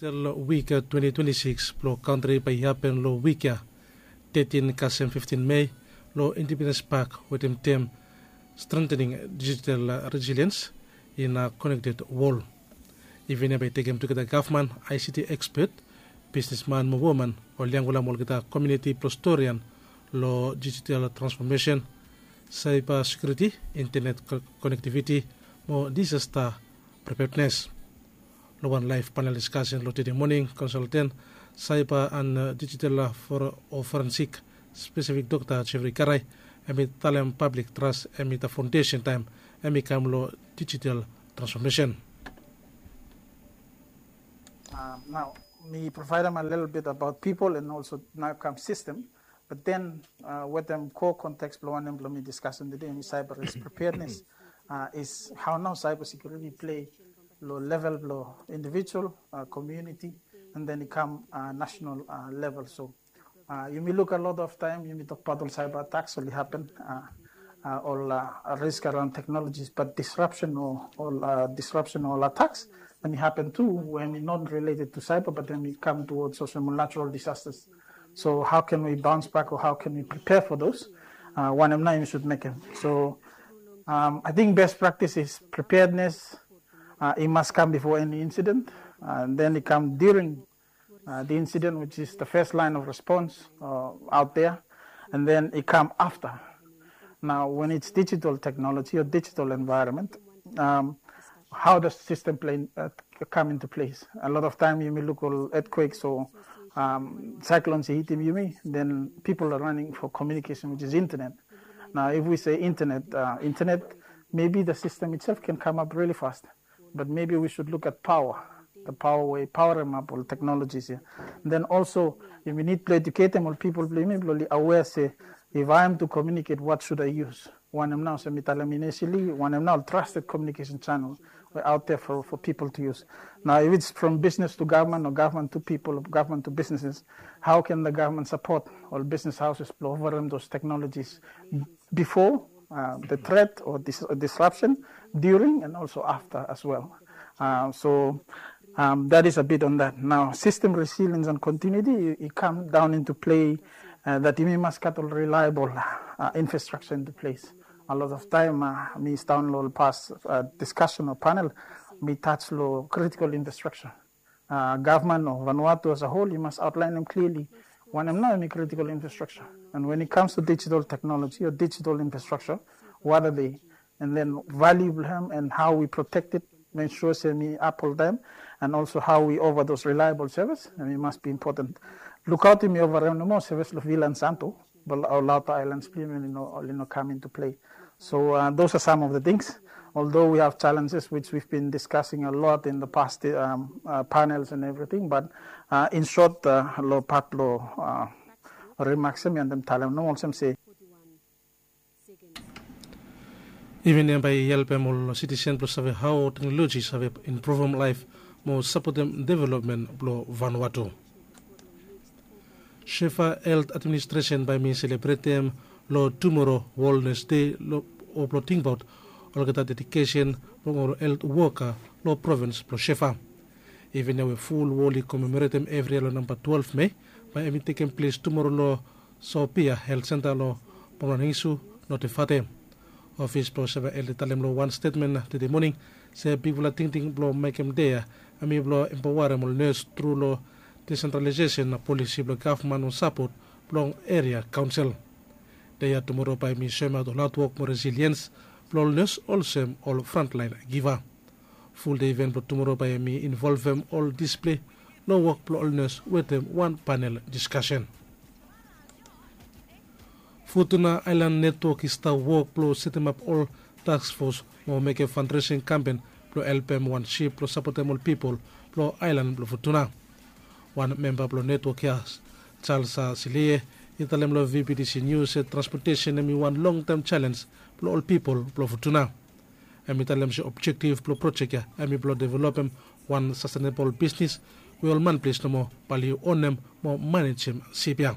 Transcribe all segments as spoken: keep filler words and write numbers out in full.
Digital Week twenty twenty-six blong kantri bae i hapen long wik ya, thirteen kasem fifteen Mei, long Independence Park wetem tem Strengthening Digital Resilience in a Connected World. Iven ya bae i tekem tugeta gavman, I C T expert, bisnisman mo woman, ol yangfala mo olgeta komuniti blong storian long digital transformation, cyber security, internet connectivity mo disaster preparedness. Long wan laef panel diskasen long tede moning, konsalten cyber and digital o forensik spesifik dokta Jeffrey Karai hem i talem pablik tras hem i da faondesen taem hem i kam long digital transfomesen. Nao mi provaedem a little bit about people and also nao kam sistem. But then wetem ko konteks blong wanem blong mi diskasen tede hem i cyber is preparedness, is hao nao cyber security play long level blong individual, community, and then i kam national level. So yumi luk a lot of taem yumi tokbaot ol cyber attacks oli hapen, ol risk around technologies, but disruption o ol disruption o ol attacks hem i hapen tu, we hem i not related to cyber but hem i kam towards olsem ol natural disasters. So how can we bounce back or how can we prepare for those? Wanem nao yumi sud mekem. So I think best practice is preparedness. I mas kam before any incident, and then i kam during the incident, which is the first line of response out there, and then i kam after. Now when it's digital technology or digital environment, how does system play come into place? A lot of time yumi luk ol earthquakes o cyclones i hitim yumi, then people are running for communication, which is internet. Now if we say internet, internet, maybe the system itself can come up really fast, but maybe we should look at power, the power we power em up ol technologies ya. Then also yumi nid blong eduketem ol pipol blong yumi blong oli aware se if I am to communicate, what should I use? Wanem nao olsem mi talem inisili, wanem nao ol trusted communication channel we out there for people to use? Now if it's from business to government or government to people or government to businesses, how can the government support ol business houses blong overem those technologies before the threat or disruption, during and also after as well? So that is a bit on that. Now system resilience and continuity i kam down into play, that yumi mas gat ol reliable infrastructure into place. A lot of time mi stan long ol pas discussion o panel, mi touch long critical infrastructure. Gavman o Vanuatu as a whole i mas outline em clearly wanem nao hem i critical infrastructure. And when it comes to digital technology o digital infrastructure, what are they? And then value blong hem and how we protect it, make sure se hem i up ol taem, and also how we over those reliable service, hem i mas be important. Lukaot yumi over hem nomo service long Vila and Santo, but ol outer islands blong yumi oli no kam into play. So those are some of the things, although we have challenges which we've been discussing a lot in the past panels and everything, but in short, long pat long remarks ya mi wantem talem nomo olsem se Iven ya bae i helpem ol sitisen blong save hao teknoloji save impruvem laef mo sapotem developmen blong Vanuatu. Shefa Helt Administresen bae mi selebretem long tumoro Wol Nes Dei o blong tingbaot olgeta dedikesen blong ol helt woka long provins blong Shefa. Iven ya we ful wol i komemoretem evri yia long namba twelef Mei, bae hem i tekem ples tumoro long Sopia Helt Senta long Pomlaningisu, Notefate. Ofis blong Shefa Helt i talem long wan stetmen tede moning se bigfala tingting blong mekem dei ya hem i blong empaoarem ol nes tru long desentralaesesen polisi blong gavman o sapot blong eria kaonsel. Dei ya tumoro bae hem i soemaot ol hatwok mo resiliens blong ol nes olsem ol frantlaen giva. Fuldei iven blong tumoro bae hem i involvem ol disple long wok blong ol nes wetem wan panel diskasen. Futuna Aelan Netwok i stap wok blong setemap ol taskfos mo mekem fandresing kampen blong helpem wan sip blong sapotem ol pipol blong aelan blong Futuna. Wan memba blong netwok ya, Charles Silie, i talem long V B T C News se transpotesen hem i wan longtaem jalenj blong ol pipol blong Futuna. Hem i talem se objektif blong projek ya hem i blong developem wan sastenebol bisnis we ol manples nomo bae oli onem mo manejem sip ya.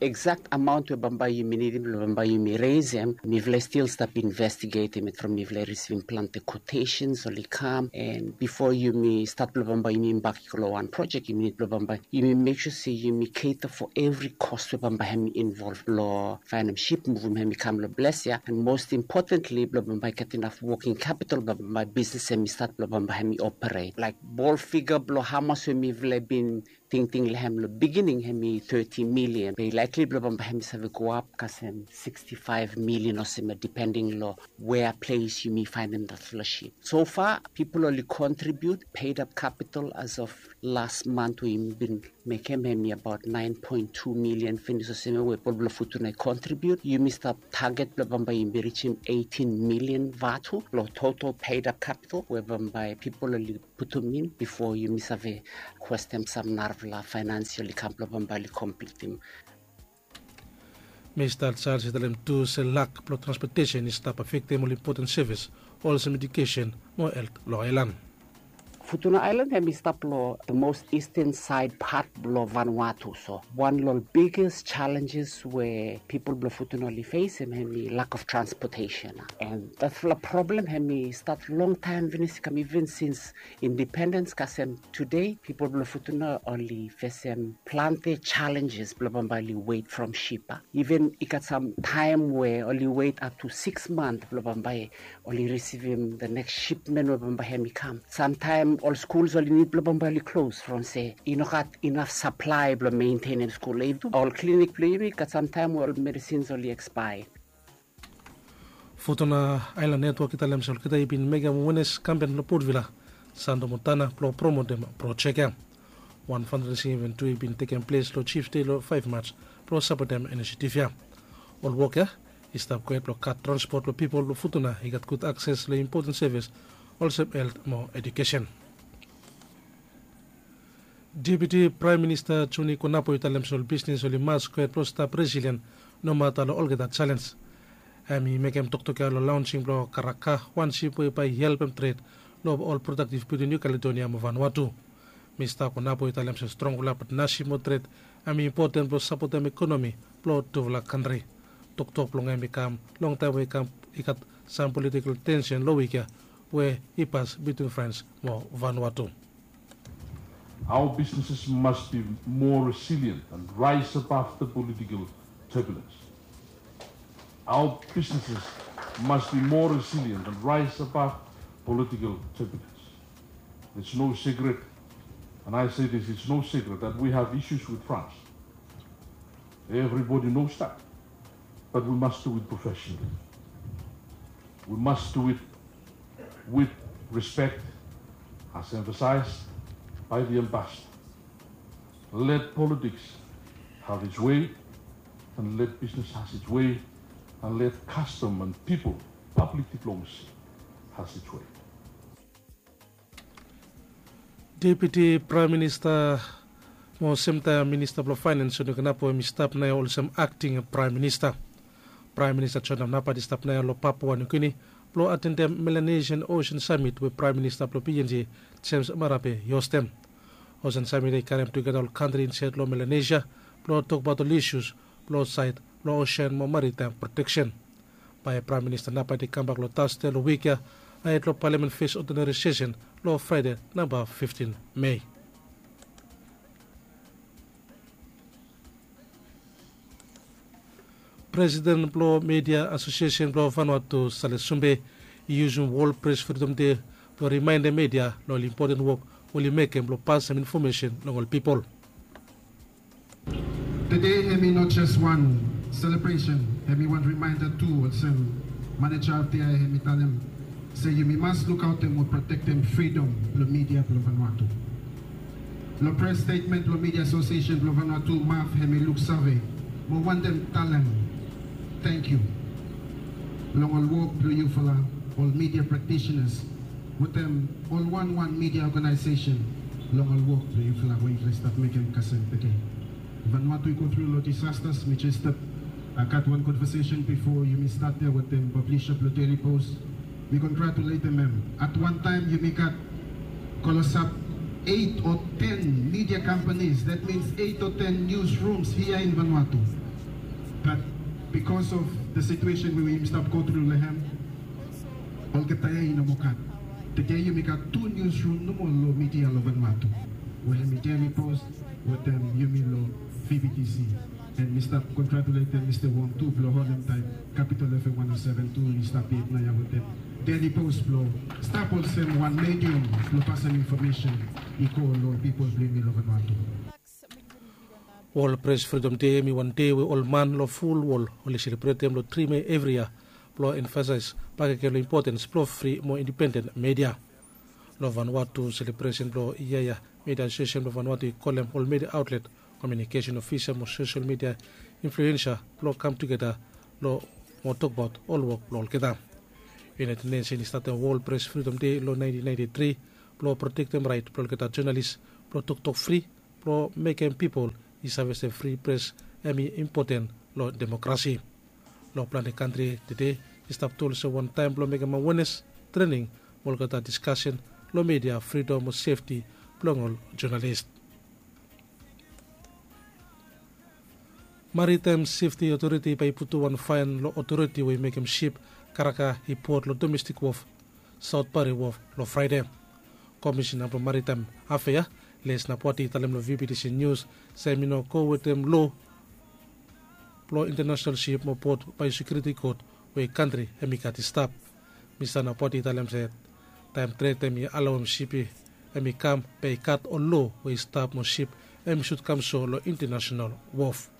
Exact amount we bambae yumi nidim blong bambae yumi reisem, mifala i stil stap investigetem it from mifala i risivim plante quotations oli kam, and bifo yumi stat blong bambae yumi bak i go long wan project, yumi nid blong bambae yumi mek sua se yumi cater for every cost we bambae hemi involve blong faenem ship, muvum hemi kam long ples ya, and most importantly blong bambae gat inaf working capital blong bambae bisnis hemi stat blong bambae hemi operate. Laik bol figa blong hamas we mifala i bin tingting long hem long beginning hemi thirty million, be likely blong bambae hemi save go ap kasem sixty-five million olsem ya, depending long wea ples yumi faenem datfala ship. So far pipol oli contribute paid up capital as of last month we yumi bin mekem hemi abaot nine point two million finis olsem ya we pipol blong Futuna i contribute. Yumi stap target blong bambae yumi risim eighteen million vatu long total paid up capital we bambae pipol oli putum in bifo yumi save kwestem sam narafala faenansial i kam blong bambae oli komplitim. Mista Charles i talem tu se lak blong transpotesen i stap afektem ol impoten sevis olsem edukesen mo helt long aelan. Futuna Aelan hemi stap long the most eastern side part blong Vanuatu, so wan long ol biggest challenges we pipol blong Futuna oli fesem hemi lack of transportation. And datfala problem hemi stat longtaem finis i kam even since independens kasem tude pipol blong Futuna oli fesem plante challenges blong bambae oli wet from ship. Even i gat sam taem we oli wet up to six month blong bambae oli risivim the next shipment we bambae hemi kam. Samtaem ol skuls oli nid blong bambae oli klos from se i no gat inaf saplae blong mentenem skul. Ol klinik blong yumi i gat samtaem we ol medisins oli ekspaea. Futuna Aelan Netwok i talem se olgeta i bin mekem wenes kampen long Port Vila, Sando Montana blong promotem projek ya. Wan fundraising event tu i bin tekem ples long Chiefs Day long five March blong sapotem inisiativ ya. Ol wok ya i stap gohed blong gat transpot blong pipol blong Futuna i gat gud akses long impoten sevis olsem helt mo edukesen. Deputi Praem Minista Joni Konapo i talem se ol bisnis oli mas gohed blong stap resilien nomata long olgeta jalenj. Hem i mekem toktok ya long laonsing blong Karaka, wan sip we bae i helpem tred long ol prodaktiv bitwin Niu Kaledonia mo Vanuatu. Mista Konapo i talem se strongfala patnasip mo tred hem i impoten blong sapotem ekonomi blong tufala kantri. Toktok blong hem i kam longtaem we i kam i gat sam politikel tensen long wik ya we i pas bitwin Frens mo Vanuatu. Our businesses must be more resilient and rise above the political turbulence. Our businesses must be more resilient and rise above political turbulence. It's no secret, and I say this, it's no secret that we have issues with France. Everybody knows that. But we must do it professionally. We must do it with respect, as emphasized by the ambassador. Let politics have its way, and let business has its way, and let custom and people, public diplomacy has its way. Deputi Praem Minista mo semtaem Minista blong Faenens, Joni Konapo, hem i stap naoia olsem akting Praem Minista. Praem Minista John Napat i stap naoia long Papua Niu Gini blong atendem Melanesian Ocean Summit we Praem Minista blong P N G, James Marape, i hostem. Ocean Summit i karem tugeta ol kantri insaed long Melanesia blong tokbaot ol isus blong saed blong osen mo maritaem proteksen. Bae Praem Minista Napat i kambak long Tasde long wik ya ahed long Palamen fes odinari sesen long Fraede namba fiftin Mei. Presiden blong Media Asosiesen blong Vanuatu, Sale Sumbe, i yusum Wol Pres Fridom Dei blong rimaendem media long ol impoten wok we oli mekem blong pasem infomesen long ol pipol. Tede hem i no jes wan selebresen, hem i wan rimaenda tu, olsem maneja of the year hem i talem se yumi mas lukaotem mo protektem fridom blong media blong Vanuatu. Long pres stetmen blong Media Asosiesen blong Vanuatu, MAF, hem i luksave mo wantem talem tangkiu long ol wok blong yufala, ol media practitioners, wetem ol wanwan media organization long ol wok blong yufala we yufala i stap mekem kasem tede. Vanuatu i go tru long disasters, mi jes stap, a, gat wan konvasesen bifo yumi stat ya wetem pablisha blong Daily Post. Mi kongratuletem hem. At wan taem yumi gat klosap eit o ten media companies, that means eit o ten newsrooms hia in Vanuatu. Because of the situation we yumi stap go through long hem, olgeta ya i no moa gat. Tede yumi gat tu newsroom nomo long media long Vanuatu, we hem i Daily Post wetem yumi long V B T C. And mi stap congratulatem Mista Wong tu blong holem taem Capital F M one oh seven tu i stap yet naoia wetem Daily Post blong stap olsem wan medium blong pasem infomesen i go long pipol blong yumi long Vanuatu. Wol Pres Fridom Dei hem i wan dei we ol man long ful wol oli selebretem long tri Mei evri yia blong emfasaes bakegen long impotens blong fri mo indipenden media. Long Vanuatu selebresen blong yia ya, Media Asosiesen blong Vanuatu i kolem ol media aotlet, komiunikesen ofisa mo sosel media influensa blong kam tugeta long mo tokbaot ol wok blong olgeta. United Nation i statem Wol Pres Fridom Dei long naentin naenti tri blong protektem raet blong olgeta jonalis blong toktok fri blong mekem pipol i save se fri pres hem i impoten long demokrasi. Long plante kantri tede i stap tu olsem wan taem blong mekem awenes, trening mo olgeta diskasen long media fridom mo sefti blong ol jonalis. Maritaem Sefti Otoriti bae i putum wan faen long otoriti we i mekem sip karega i pot long domestik wof Saot Pari Wof long Fraede. Komisena blong Maritaem Afea Les Napwati i talem long V B T C Nius se hem i no go wetem loa blong Intenasenal Sip mo Pot Baesekiuriti Kot we kantri hem i gat i stap. Mista Napwati i talem se taem tred hem i alaoem sip hem i kam bae i gat ol loa we i stap mo sip hem i sud kam so long Intenasenal Wof.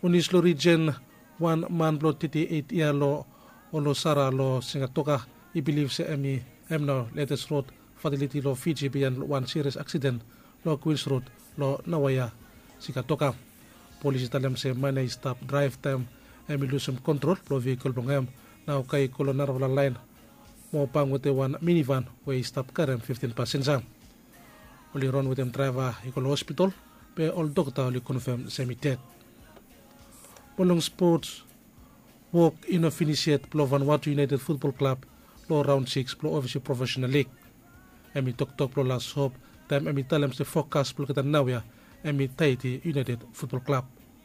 Unis long rijen, wan man blong teti eit yia long Olosara long Sigatoka i bilif se hem i hem nao letes rod fataliti long Fiji biaen wan sirias aksiden long Kwins Rod long naoia Sigatoka. Polis i talem se man ya i stap draev taem hem i lusum kontrol blong vehikel blong hem, nao kae i go long narafala laen mo bang wetem wan minivan we i stap karem fiftin pasenja. Oli ron wetem draeva i go long hospital, be ol dokta oli konfem se hem i ded. Mo long spots, wok i no finis yet blong Vanuatu United Futbol Klab long raon sikis blong Ovesi Profesenal Lig. Hem i toktok blong las hop taem hem i talem se fokas blong olgeta naoia hem i Taiti United Futbol Klab.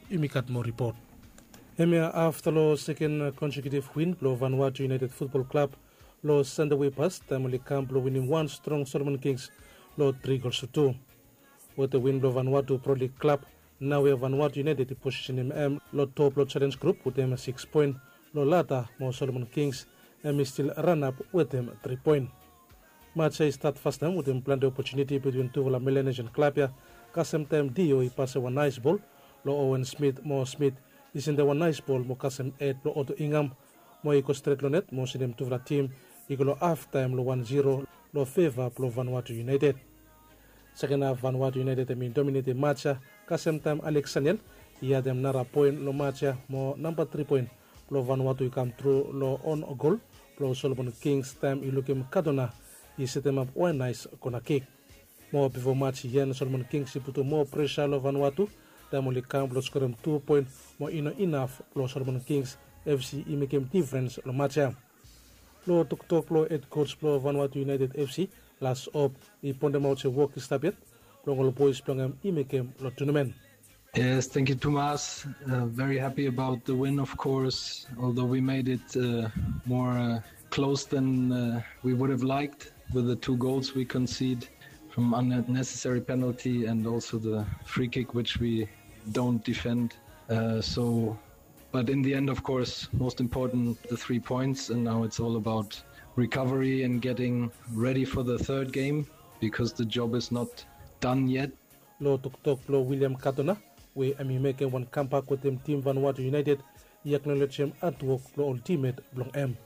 Yumi gat moa ripot. Hemia afta long seken konsekiutiv win blong Vanuatu United Futbol Klab long Sande we i pas taem oli kam blong winim wan strong Solomon Kings long tri gols tu tu. Wetem win blong Vanuatu Pro Lig Klab, naoia Vanuatu United i posisenem hem long top long jalenj grup wetem sikis poen long lada mo Solomon Kings hem i stil ranap wetem tri poen. Maj ya i stat fastaem wetem plante opotuniti bitwin tufala Melanesian klab ya, kasem taem Dio i pasem wan naes bol long Owen Smith mo Smith i sendem wan naes bol mo kasem hed blong Oto Ingam mo i go stret long net mo sendem tufala tim i go long haftaem long wan ziro long feva blong Vanuatu United. Seken haf Vanuatu United hem i dominetem maj ya, kasem taem Alex Saniel i adem nara poen long maj ya mo namba tri poen blong Vanuatu i kam tru long on gol blong Solomon Kings taem i lukim Kadona i setemap wan naes kona kik. Mo bifo maj i en Solomon Kings i putum moa presa long Vanuatu taem oli kam blong skorem tu poen mo i no inaf blong Solomon Kings FC i mekem difrens long maj ya. Long toktok blong hed koj blong Vanuatu United FC, Las Op, i poendemaot se wok i stap yet blong ol boes blong hem i mekem long tunamen. Yes, thank you, Tomas. Uh, very happy about the win, of course, although we made it uh, more uh, close than uh, we would have liked with the two goals we concede from unnecessary penalty and also the free kick, which we don't defend. Uh, so, but in the end, of course, most important, the three points, and now it's all about recovery and getting ready for the third game because the job is not done yet. Long toktok blong William Cardona, we hem i mekem wan kambak wetem tim Vanuatu United, i aknolejem hatwok blong ol timmet blong hem.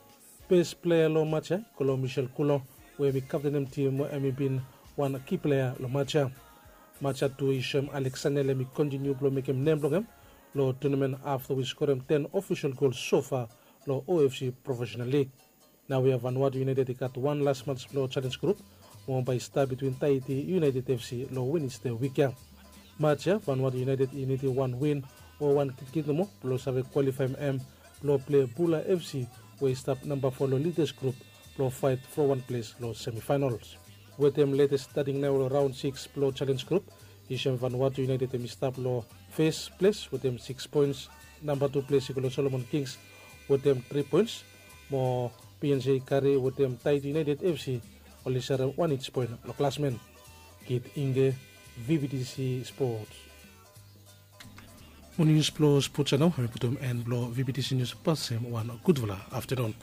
Bes plea long maj ya i go long Michel Coulon, we hem i kaptenem tim mo hem i bin wan ki plea long maj ya. Maj ya tu i soem Alex Saniel hem i kontiniu blong mekem nem blong hem long tunamen afta we i skorem ten ofisol gol sofa long OFC Profesenal Lig. Naoia Vanuatu United i gat wan las maj blong jalenj grup, mo bae i stap bitwin Taiti United FC long Wenesde wik ya. Maj ya Vanuatu United i nidim wan win o wan kitkit nomo blong save kwalifaem hem blong plei Bula FC we i stap namba fo long lidas grup blong faet fo wan ples long semifaenals. Wetem letes stating naoia long raon sikis blong jalenj grup, i soem Vanuatu United hem i stap long fes ples wetem sikis poens. Namba tu ples i go long Solomon Kings wetem tri poens, mo P N C Kari wetem Taiti United F C oli serem wan each poen long klasmen. Kit Inge, V B T C Sports. Mo nius blong spots ya nao hem i putum en blong V B T C nius. Pasem wan gudfala aftenun.